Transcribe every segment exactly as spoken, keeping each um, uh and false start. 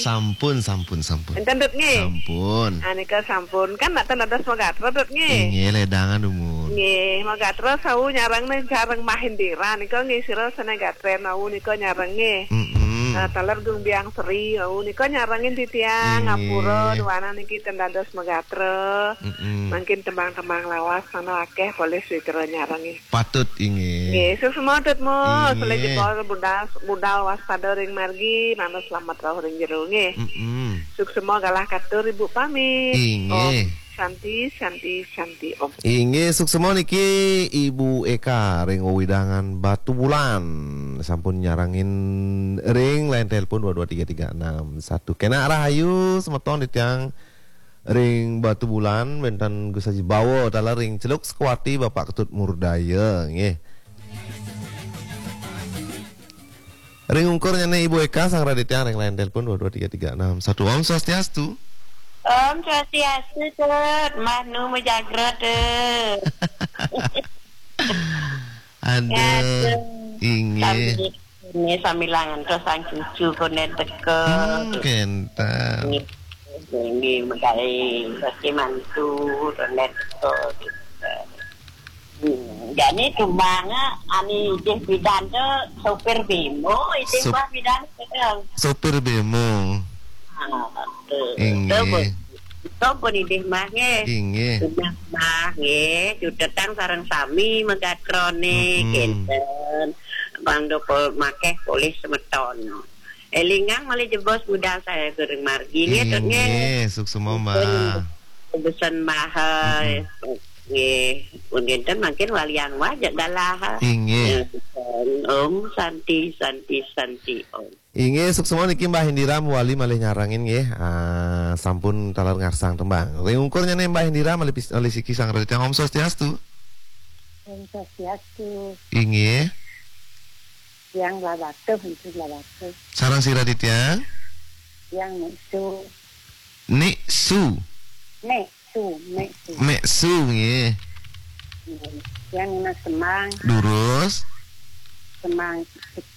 Sampun, sampun, sampun. Enten, Dut, nggih? Sampun. Ah, nika sampun. Kan nak ten dados Magatra, Dut, nggih? Inggih, ledangan dumun. Nggih, Magatra sawu nyareng nih, sareng Mahendira nika nggih, sira sane gatra wau nika nyareng nggih. Mm-mm. Ah, taler Gung Biang Sri wau nika nyarengin titiang, nggih, ngapura duaning niki ten dados Magatra. Mm-mm. Mangkin tembang-tembang lawas sana akeh polih sawitra nyareng nggih. Patut, inggih. Nggih, suksma, Dut, Mus. Inggih. Oleh jebos budal, budal waspada ring margi, manut slamet rauh ring jero, nggih. Mm-mm. Suksma galah katur, Ibu pamit. Inggih. Om Santi, Santi, Santi, Om. Inggih, suksma niki Ibu Eka ring wewidangan Batubulan. Sampun nyarengin ring line telepon dua dua tiga tiga enam satu. Kenak rahayu, semeton titiang ring Batubulan, wenten Gus Haji Bawa, taler ring Celuk Sukawati, Bapak Ketut Murdaya, nggih. Ring ungkur nyane Ibu Eka, sang raditya ring line telepon dua dua tiga tiga enam satu. Om Swastiastu. Om Swastiastu, Tut. Mbah Nu majagra, Tut. Aduh. Aduh. Inggih. Sami, ini sami langan terus sang cucu konen teka. Hmm, kenten. Inggih, inggih, megai pasti mantu konen teka. Hmm, jani tumbanga ani idih bidan tu sopir bemo, idih Sop-, Mbah bidan tu. Sopir bemo. Ah, tu. Inggih. Tu pun, tu pun idih Mbah nggih. Inggih. Sudah Mbah nggih, cutetang sareng sami magatrone, mm-mm, kenten. Mangda po-, makeh polih semeton. Elingang malih jebos budal sae ring margi nggih, Tut, nggih. Inggih, suksma, Mbah. Pun besen Mbah, mm-mm, nggih. Pun kenten mangkin waliang wajak galah. Inggih. Ya, Om Santi, Santi, Santi, Om. Inggih, suksma niki Mbah Indira mawali malih nyarengin nggih. Ah, sampun taler ngarsang tembang. Ring ungkur nyane Mbah Indira malih pis-, malih siki sang raditya. Om Swastiastu. Om Swastiastu. Inggih. Tiang Blahbatuh, Enti Blahbatuh. Sareng sira titiang? Tiang Nik Su. Nik Su. Nik Su, Nik Su. Nik Su, nggih. Nggih. Tiang nunas tembang. Durus. Tembang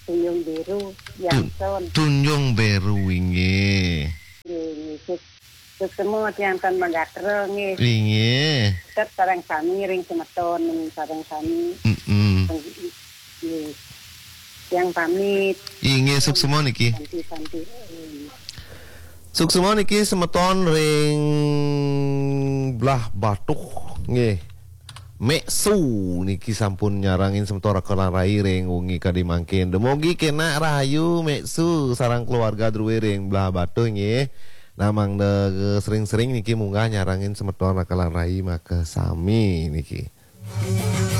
Tunjung Biru, Tun-, Yangson. Tunjung Biru, inggih. Nggih, nggih. Suksma tiang tan magatra nggih. Inggih. Tetep sareng sami ring semeton sareng sami. Mm-mm. Nggih. Tiang pamit. Inggih, suksma niki. Santi, santi. Suksma niki semeton ring Blahbatuh nggih. Mek Su niki sampun nyarengin semeton Raka lan Rai ring wengi kadi mangkin. Dumugi kenak rahayu Mek Su sareng keluarga druwe ring Blahbatuh nggih. Nah, mangda sering-sering niki munggah nyarengin semeton Raka lan Rai makasami niki.